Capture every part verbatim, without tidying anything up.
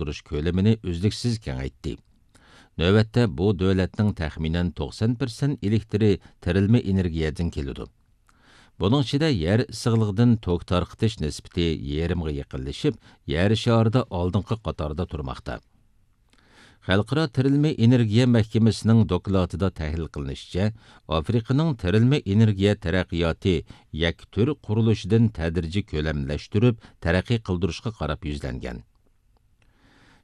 ئالماشتۇرۇش كۆلىمىنى ئۈزلۈكسىز كېڭەيتتى. نۆۋەتتە بۇ دۆلەتنىڭ تەخمىنەن توقسان پىرسەنت ئېلېكتىرى تىرىلما ئېنېرگىيەدىن كېلىدۇ. بۇنىڭ ئىچىدە يەر ئىسسىقلىقىدىن توك تارقىتىش نىسبىتى يېرىمغا يېقىنلىشىپ، يەر شارىدا ئالدىنقى قاتاردا تۇرماقتا. خەلقئارا تىرىلما ئېنېرگىيە مەھكىمىسىنىڭ دوكلاتىدا تەھلىل قىلىنىشىچە، ئافرىقىنىڭ تىرىلما ئېنېرگىيە تەرەققىياتى يەككە تۈر قۇرۇلۇشىدىن تەدرىجىي كۆلەملەشتۈرۈپ تەرەققىي قىلدۇرۇشقا قاراپ يۈزلەنگەن.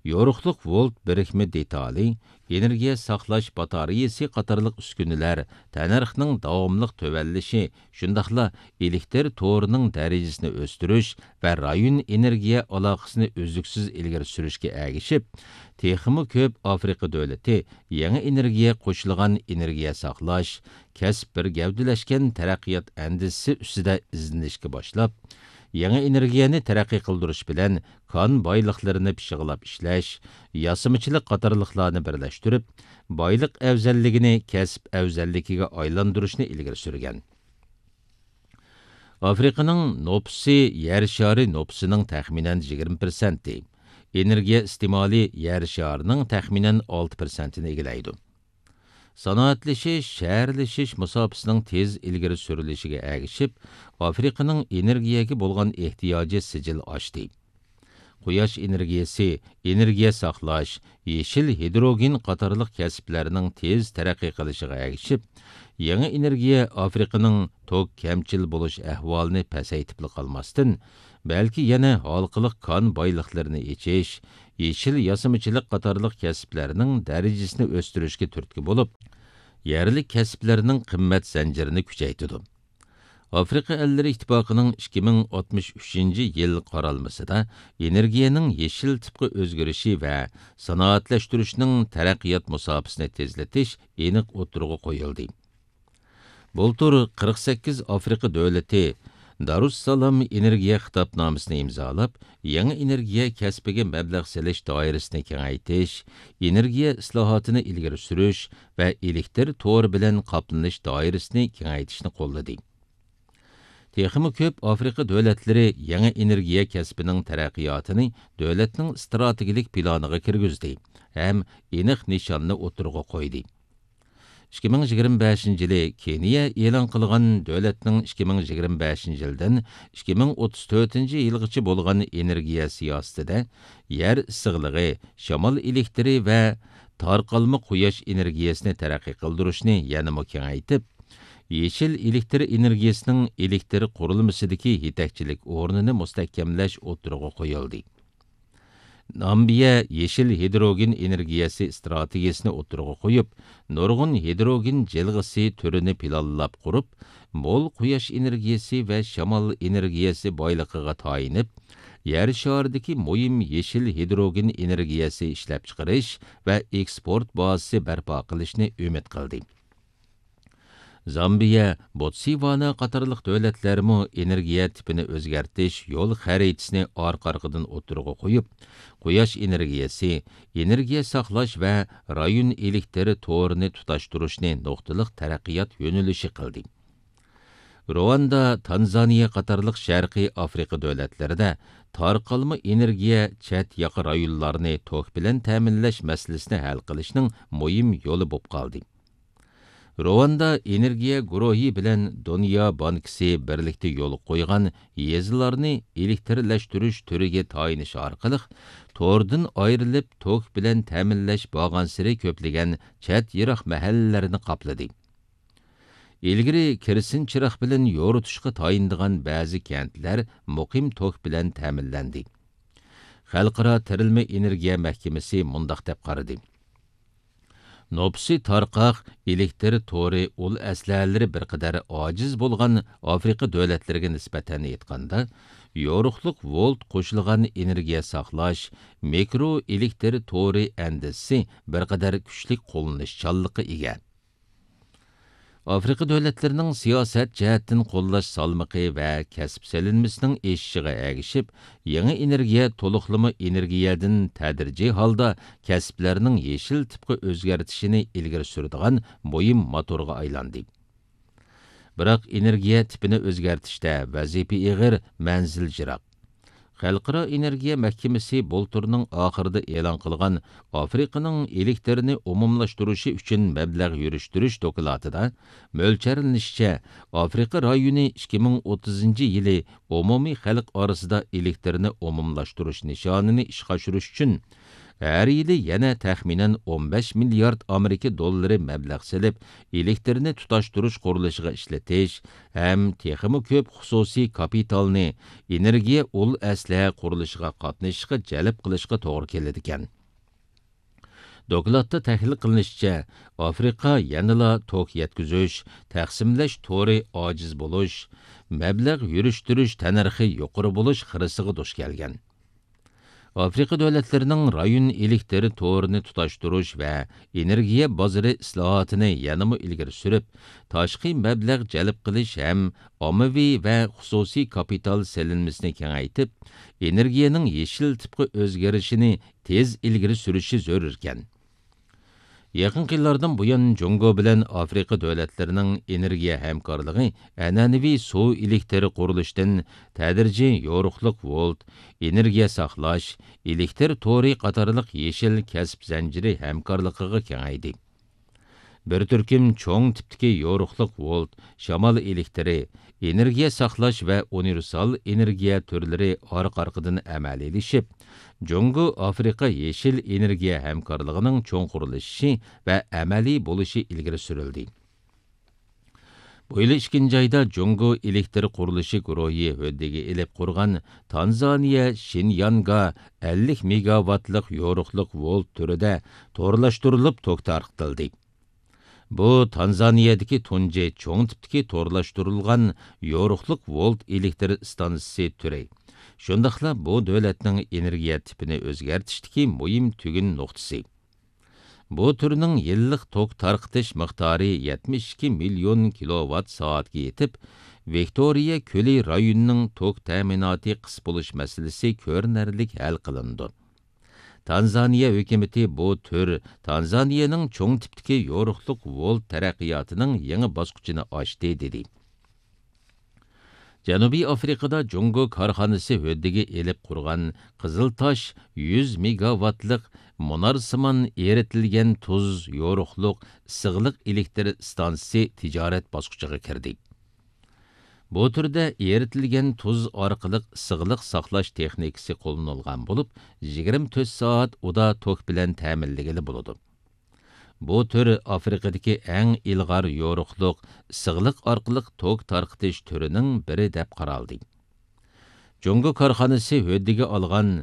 يورۇقلۇق ۋولت بىرىكمە دېتالى، ئېنېرگىيە ساقلاش باتارېيىسى قاتارلىق ئۈسكۈنىلەر تەننەرخنىڭ داۋاملىق تۆۋەنلىشى، شۇنداقلا ئېلېكتىر تورىنىڭ دەرىجىسىنى ئۆستۈرۈش ۋە رايون ئېنېرگىيە ئالاقىسىنى ئۈزلۈكسىز ئىلگىرى سۈرۈشكە ئەگىشىپ، تېخىمۇ كۆپ ئافرىقا دۆلىتى يېڭى ئېنېرگىيە قوشۇلغان ئېنېرگىيە ساقلاش، كەسىپ بىر گەۋدىلەشكەن تەرەققىيات ئەندىزىسى ئۈستىدە ئىزدىنىشكە باشلاپ، يېڭى ئېنېرگىيەنى تەرەققىي قىلدۇرۇش بىلەن كان بايلىقلىرىنى پىششىقلاپ ئىشلەش، ياسىمىچىلىق قاتارلىقلارنى بىرلەشتۈرۈپ، بايلىق ئەۋزەللىكىنى كەسىپ ئەۋزەللىكىگە ئايلاندۇرۇشنى ئىلگىرى سۈرگەن. ئافرىقىنىڭ نوپۇسى يەر شارى نوپۇسىنىڭ تەخمىنەن يىگىرمە پىرسەنتى، ئېنېرگىيە ئىستېمالى يەر شارىنىڭ تەخمىنەن ئالتە پىرسەنتىنى ئىگىلەيدۇ. سانائەتلىشىش، شەھەرلىشىش مۇساپىسىنىڭ تېز ئىلگىرى سۈرۈلۈشىگە ئەگىشىپ، ئافرىقىنىڭ ئېنېرگىيەگە بولغان ئېھتىياجى سىجىل ئاشتى. قۇياش ئېنېرگىيەسى، ئېنېرگىيە ساقلاش، يېشىل ھىدروگېن قاتارلىق كەسىپلەرنىڭ تېز تەرەققىي قىلىشىغا ئەگىشىپ، يېڭى ئېنېرگىيە ئافرىقىنىڭ توك كەمچىل بولۇش ئەھۋالىنى پەسەيتىپلا قالماستىن، بەلكى يەنە ھالقىلىق كان بايلىقلىرىنى ئېچىش، يېشىل ياسىمىچىلىق قاتارلىق كەسىپلەرنىڭ دەرىجىسىنى ئۆستۈرۈشكە تۈرتكە بولۇپ، يەرلىك كەسىپلەرنىڭ قىممەت زەنجىرىنى كۈچەيتىدۇ. ئافرىقا ئەللىرى ئىتتىپاقىنىڭ ئىككى مىڭ ئاتمىش ئۈچىنچى يىل قارالمىسىدا ئېنېرگىيەنىڭ يېشىل تىپقا ئۆزگىرىشى ۋە سانائەتلەشتۈرۈشنىڭ تەرەققىيات مۇساپىسىنى تېزلىتىش ئېنىق ئوتتۇرىغا قويۇلدى. بۇلتۇر قىرىق سەككىز ئافرىقا دۆلىتى دارۇسسالام ئېنېرگىيە خىتابنامىسىنى ئىمزالاپ، يېڭى ئېنېرگىيە كەسپىگە مەبلەغ سېلىش دائىرىسىنى كېڭەيتىش، ئېنېرگىيە ئىسلاھاتىنى ئىلگىرى سۈرۈش ۋە ئېلېكتىر تورى بىلەن قاپلىنىش دائىرىسىنى كېڭەيتىشنى قوللىدى. تېخىمۇ كۆپ ئافرىقا دۆلەتلىرى يېڭى ئېنېرگىيە كەسپىنىڭ تەرەققىياتىنى دۆلەتنىڭ ئىستراتېگىيەلىك پىلانىغا كىرگۈزدى ھەم ئېنىق نىشاننى ئوتتۇرىغا قويدى. ئىككى مىڭ يىگىرمە بەشىنچى يىلى كېنىيە ئېلان قىلغان دۆلەتنىڭ ئىككى مىڭ يىگىرمە بەشىنچى يىلدىن ئىككى مىڭ ئوتتۇز تۆتىنچى يىلغىچە بولغان ئېنېرگىيە سىياسىتىدە يەر ئىسسىقلىقى، شامال ئېلېكتىرى ۋە تارقالما قۇياش ئېنېرگىيەسىنى تەرەققىي قىلدۇرۇشنى يەنىمۇ كېڭەيتىپ، يېشىل ئېلېكتىر ئېنېرگىيەسىنىڭ ئېلېكتىر قۇرۇلمىسىدىكى يېتەكچىلىك ئورنىنى مۇستەھكەملەش ئوتتۇرىغا قويۇلدى. نامىبىيە يېشىل ھىدروگېن ئېنېرگىيەسى ئىستراتېگىيەسىنى ئوتتۇرىغا قويۇپ، نۇرغۇن ھىدروگېن جىلغىسى تۈرىنى پىلانلاپ قۇرۇپ، مول قۇياش ئېنېرگىيەسى ۋە شامال ئېنېرگىيەسى بايلىقىغا تايىنىپ، يەر شارىدىكى مۇھىم يېشىل ھىدروگېن ئېنېرگىيەسى ئىشلەپچىقىرىش ۋە ئېكسپورت بازىسى بەرپا قىلىشنى ئۈمىد قىلدى. زامبىيە، بوتسۋانا قاتارلىق دۆلەتلەرمۇ ئېنېرگىيە تىپىنى ئۆزگەرتىش يول خەرىتىسىنى ئارقا-ئارقىدىن ئوتتۇرىغا قويۇپ، قۇياش ئېنېرگىيەسى، ئېنېرگىيە ساقلاش ۋە رايون ئېلېكتىر تورىنى تۇتاشتۇرۇشنى نۇقتىلىق تەرەققىيات يۆنىلىشى قىلدى. رواندا، تانزانىيە قاتارلىق شەرقىي ئافرىقا دۆلەتلىرىدە تارقالما ئېنېرگىيە چەت ياقا رايونلارنى توك بىلەن تەمىنلەش مەسىلىسىنى ھەل قىلىشنىڭ مۇھىم يولى بولۇپ قالدى. رواندا ئېنېرگىيە گۇرۇھى بىلەن دۇنيا بانكىسى بىرلىكتە يولغا قويغان يېزىلارنى ئېلېكتىرلەشتۈرۈش تۈرىگە تايىنىش ئارقىلىق، توردىن ئايرىلىپ توك بىلەن تەمىنلەش بارغانسېرى كۆپلىگەن چەت يىراق مەھەللىلەرنى قاپلىدى. ئىلگىرى كېرسىن چىراغ بىلەن يورۇتۇشقا تايىنىدىغان بەزى كەنتلەر مۇقىم توك بىلەن تەمىنلەندى. خەلقئارا تىرىلما ئېنېرگىيە مەھكىمىسى مۇنداق دەپ قارىدى: نوپۇسى تارقاق، ئېلېكتىر تورى ئۇل ئەسلىھەلىرى بىر قەدەر ئاجىز بولغان ئافرىقا دۆلەتلىرىگە نىسبەتەن ئېيتقاندا، يورۇقلۇق ۋولت قوشۇلغان ئېنېرگىيە ساقلاش، مىكرو ئېلېكتىر تورى ئەندىزىسى بىر قەدەر كۈچلۈك قوللىنىشچانلىققا ئىگە. ئافرىقا دۆلەتلىرىنىڭ سىياسەت جەھەتتىن قوللاش سالمىقى ۋە كەسىپ سېلىنمىسىنىڭ ئېشىشىغا ئەگىشىپ، يېڭى ئېنېرگىيە تولۇقلىما ئېنېرگىيەدىن تەدرىجىي ھالدا كەسىپلەرنىڭ يېشىل تىپقا ئۆزگەرتىشىنى ئىلگىرى سۈرىدىغان مۇھىم موتورغا ئايلاندى. بىراق ئېنېرگىيە تىپىنى ئۆزگەرتىشتە ۋەزىپە ئېغىر، مەنزىل يىراق. خەلقئارا ئېنېرگىيە مەھكىمىسى بۇلتۇرنىڭ ئاخىرىدا ئېلان قىلغان ئافرىقىنىڭ ئېلېكتىرنى ئومۇملاشتۇرۇشى ئۈچۈن مەبلەغ يۈرۈشتۈرۈش دوكلاتىدا مۆلچەرلىنىشىچە، ئافرىقا رايونى ئىككى مىڭ ئوتتۇزىنچى يىلى ئومۇمىي خەلق ئارىسىدا ئېلېكتىرنى ئومۇملاشتۇرۇش نىشانىنى ئىشقا ئاشۇرۇش ئۈچۈن، ھەر يىلى يەنە تەخمىنەن ئون بەش مىليارد ئامېرىكا دوللىرى مەبلەغ سېلىپ، ئېلېكتىرنى تۇتاشتۇرۇش قۇرۇلۇشىغا ئىشلىتىش ھەم تېخىمۇ كۆپ خۇسۇسىي كاپىتالنى ئېنېرگىيە ئۇل ئەسلىھە قۇرۇلۇشىغا قاتنىشىشقا جەلپ قىلىشقا توغرا كېلىدىكەن. دوكلاتتا تەھلىل قىلىنىشىچە، ئافرىقا يەنىلا توك يەتكۈزۈش، تەقسىملەش تورى ئاجىز بولۇش، مەبلەغ يۈرۈشتۈرۈش تەننەرخى يۇقىرى بولۇش خىرىسىغا دۇچ كەلگەن. ئافرىقا دۆلەتلىرىنىڭ رايون ئېلېكتىر تورىنى تۇتاشتۇرۇش ۋە ئېنېرگىيە بازىرى ئىسلاھاتىنى يەنىمۇ ئىلگىرى سۈرۈپ، تاشقى مەبلەغ جەلپ قىلىش ھەم ئاممىۋى ۋە خۇسۇسىي كاپىتال سېلىنمىسىنى كېڭەيتىپ، ئېنېرگىيەنىڭ يېشىل تىپقا ئۆزگىرىشىنى تېز ئىلگىرى سۈرۈشى زۆرۈركەن. يېقىنقى يىللاردىن بۇيان، جۇڭگو بىلەن ئافرىقا دۆلەتلىرىنىڭ ئېنېرگىيە ھەمكارلىقى ئەنئەنىۋى سۇ ئېلېكتىر قۇرۇلۇشىدىن تەدرىجىي يورۇقلۇق ۋولت، ئېنېرگىيە ساقلاش، ئېلېكتىر تورى قاتارلىق يېشىل كەسىپ زەنجىرى ھەمكارلىقىغا كېڭەيدى. بىر تۈركۈم چوڭ تىپتىكى يورۇقلۇق ۋولت، شامال ئېلېكتىرى، ئېنېرگىيە ساقلاش ۋە ئۇنىۋېرسال ئېنېرگىيە تۈرلىرى ئارقا-ئارقىدىن ئەمەلىيلىشىپ، جۇڭگو ئافرىقا يېشىل ئېنېرگىيە ھەمكارلىقىنىڭ چوڭقۇرلىشىشى ۋە ئەمەلىي بولۇشى ئىلگىرى سۈرۈلدى. بۇ يىل ئىككىنچى ئايدا جۇڭگو ئېلېكتىر قۇرۇلۇشى گۇرۇھى ھۆددىگە ئېلىپ قۇرغان تانزانىيە شىنيانگا ئەللىك مېگاۋاتلىق يورۇقلۇق ۋولت تۈرىدە تورلاشتۇرۇلۇپ توك تارقىتىلدى. بۇ تانزانىيەدىكى تۇنجى چوڭ تىپتىكى تورلاشتۇرۇلغان يورۇقلۇق ۋولت ئېلېكتر ئىستانسىسى تۈرى. شۇنداقلا بۇ دۆلەتنىڭ ئېنېرگىيە تىپىنى ئۆزگەرتىشتىكى مۇھىم تۈگۈن نۇقتىسى. بۇ تۈرنىڭ يىللىق توك تارقىتىش مىقدارى يەتمىش ئىككى مىليون كىلوۋات سائەتكە يېتىپ، ۋىكتورىيە كۆلى رايونىنىڭ توك تەمىناتى قىس بولۇش مەسىلىسى كۆرۈنەرلىك ھەل قىلىنىدۇ. تانزانىيە ھۆكۈمىتى بۇ تۈر تانزانىيەنىڭ چوڭ تىپتىكى يورۇقلۇق ۋولت تەرەققىياتىنىڭ يېڭى باسقۇچىنى ئاچتى، دېدى. جەنۇبىي ئافرىقىدا جۇڭگو كارخانىسى ھۆددىگە ئېلىپ قۇرغان قىزىلتاش يۈز مېگاۋاتلىق مۇنارسىمان ئېرىتىلگەن تۇز يورۇقلۇق ئىسسىقلىق ئېلېكتر ئىستانسىسى تىجارەت باسقۇچىغا كىردى. بۇ تۈردە ئېرىتىلگەن تۇز ئارقىلىق ئىسسىقلىق ساقلاش تېخنىكىسى قوللىنىلغان بولۇپ، يىگىرمە تۆت سائەت ئۇدا توك بىلەن تەمىنلىگىلى بولىدۇ. بۇ تۈر ئافرىقىدىكى ئەڭ ئىلغار يورۇقلۇق، ئىسسىقلىق ئارقىلىق توك تارقىتىش تۈرىنىڭ بىرى دەپ قارالدى. جۇڭگو كارخانىسى ھۆددىگە ئالغان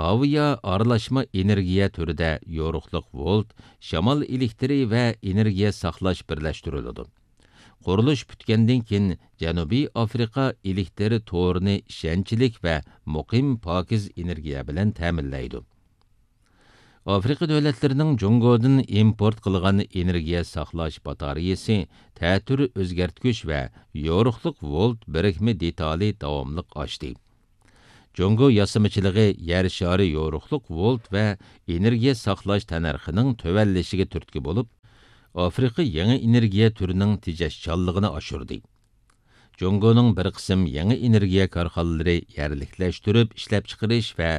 ئاۋىيا ئارىلاشما ئېنېرگىيە تۈرىدە يورۇقلۇق ۋولت، شامال ئېلېكتىرى ۋە ئېنېرگىيە ساقلاش بىرلەشتۈرۈلىدۇ. قۇرۇلۇش پۈتكەندىن كېيىن، جەنۇبىي ئافرىقا ئېلېكتىر تورىنى ئىشەنچلىك ۋە مۇقىم پاكىز ئېنېرگىيە بىلەن تەمىنلەيدۇ. ئافرىقا دۆلەتلىرىنىڭ جۇڭگودىن ئىمپورت قىلغان ئېنېرگىيە ساقلاش باتارېيىسى، تەتۈر ئۆزگەرتكۈچ ۋە يورۇقلۇق ۋولت بىرىكمە دېتالى داۋاملىق ئاشتى. جۇڭگو ياسىمىچىلىقى يەر شارى يورۇقلۇق ۋولت ۋە ئېنېرگىيە ساقلاش تەننەرخىنىڭ تۆۋەنلىشىگە تۈرتكە بولۇپ، ئافرىقا يېڭى ئېنېرگىيە تۈرىنىڭ تېجەشچانلىقىنى ئاشۇردى. جۇڭگونىڭ بىر قىسىم يېڭى ئېنېرگىيە كارخانىلىرى يەرلىكلەشتۈرۈپ ئىشلەپچىقىرىش ۋە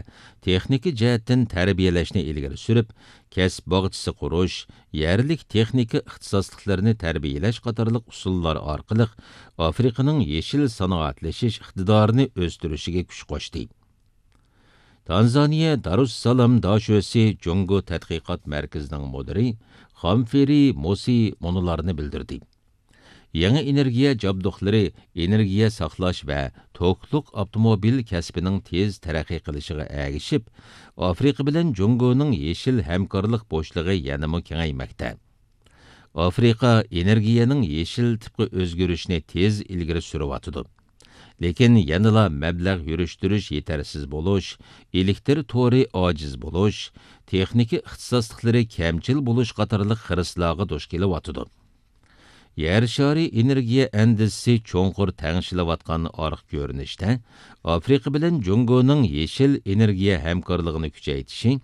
تېخنىكا جەھەتتىن تەربىيەلەشنى ئىلگىرى سۈرۈپ، كەسىپ باغچىسى قۇرۇش، يەرلىك تېخنىكا ئىختىساسلىقلىرىنى تەربىيەلەش قاتارلىق ئۇسۇللار ئارقىلىق ئافرىقىنىڭ يېشىل سانائەتلىشىش ئىقتىدارىنى ئۆستۈرۈشىگە كۈچ قوشتى. تانزانىيە دارۇسسالام داشۆسى جۇڭگو تەتقىقات مەركىزىنىڭ مۇدىرى خامفېرى موسى مۇنۇلارنى بىلدۈردى. يېڭى ئېنېرگىيە جابدۇقلىرى ئېنېرگىيە ساقلاش ۋە توكلۇق ئاپتوموبىل كەسپىنىڭ تېز تەرەققىي قىلىشىغا ئەگىشىپ، ئافرىقا بىلەن جۇڭگونىڭ يېشىل ھەمكارلىق بوشلۇقى يەنىمۇ كېڭەيمەكتە. ئافرىقا ئېنېرگىيەنىڭ يېشىل تىپقا ئۆزگىرىشىنى تېز ئىلگىرى سۈرۈۋاتىدۇ. لېكىن يەنىلا مەبلەغ يۈرۈشتۈرۈش يېتەرسىز بولۇش، ئېلېكتىر تورى ئاجىز بولۇش، تېخنىكا ئىختىساسلىقلىرى كەمچىل بولۇش قاتارلىق خىرىسلارغا دۇچ كېلىۋاتىدۇ. يەر شارى ئېنېرگىيە ئەندىزىسى چوڭقۇر تەڭشىلىۋاتقان ئارقا كۆرۈنۈشتە، ئافرىقا بىلەن جۇڭگونىڭ يېشىل ئېنېرگىيە ھەمكارلىقىنى كۈچەيتىشى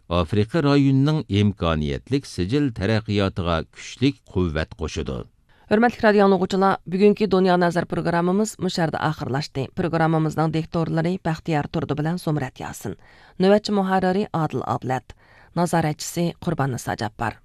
ئافرىقا رايونىنىڭ ئىمكانىيەتلىك سىجىل تەرەققىياتىغا كۈچلۈك قۇۋۋەت قوشىدۇ. ھۆرمەتلىك رادىيو ئاڭلىغۇچىلار، بۈگۈنكى دۇنيا نەزەر پروگراممىمىز مۇشۇ يەردە ئاخىرلاشتى. پروگراممىمىزنىڭ دىكتورلىرى بەختىيار تۇردى بىلەن زۇمرەت ياسىن. نۆۋەتچى مۇھەررىرى ئادىل ئابلەت. نازارەتچىسى قۇرباننىسا جاپپار.